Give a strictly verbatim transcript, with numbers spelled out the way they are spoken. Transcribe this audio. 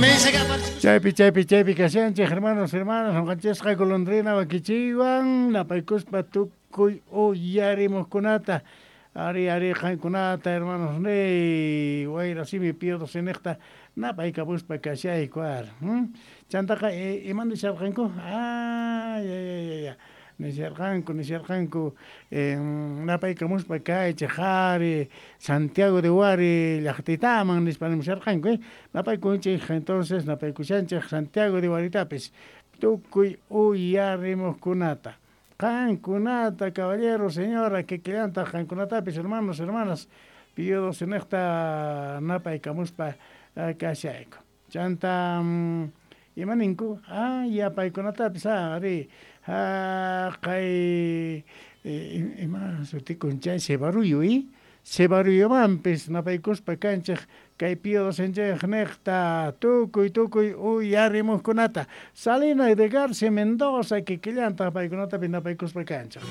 Chaypi, chaypi, chaypi kashanchik, hermanos, hermanas, ñuqanchisqa golondrina wakichiywan napaykuspa tukuy uyarimuqkunata. Ari, ari, qankunata, hermanos, ni wayra simi Pío niqta napaykapuspa kashayku ar. Chantaqa iman nisharqanku? Ah, ya, ya, ya, ya. Nisharqanku, nisharqanku, napaykamuspa kaychik qhari Santiago de Huari llaqtitaman nispa nimusharqanku, eh. Napaykunchik entonces napaykushanchik Santiago de Huaritapis tukuy uyarimuqkunata. Qankunata, caballero, señora, kikillantaq qankunatapis, hermanos, hermanas, Pío niqta napaykamuspa kashayku. Chanta ima ninku? Ah, yapaykunatapis, ah, ari, haqay ima sutikun chay Sebaruyo, y Sebaruyumanpis napaykuspa kanchik kay Pío niqta tukuy tukuy uyarimuqkunata. Salina de Garcia Mendoza kikillantaq paykunatapi napaykuspa kanchik.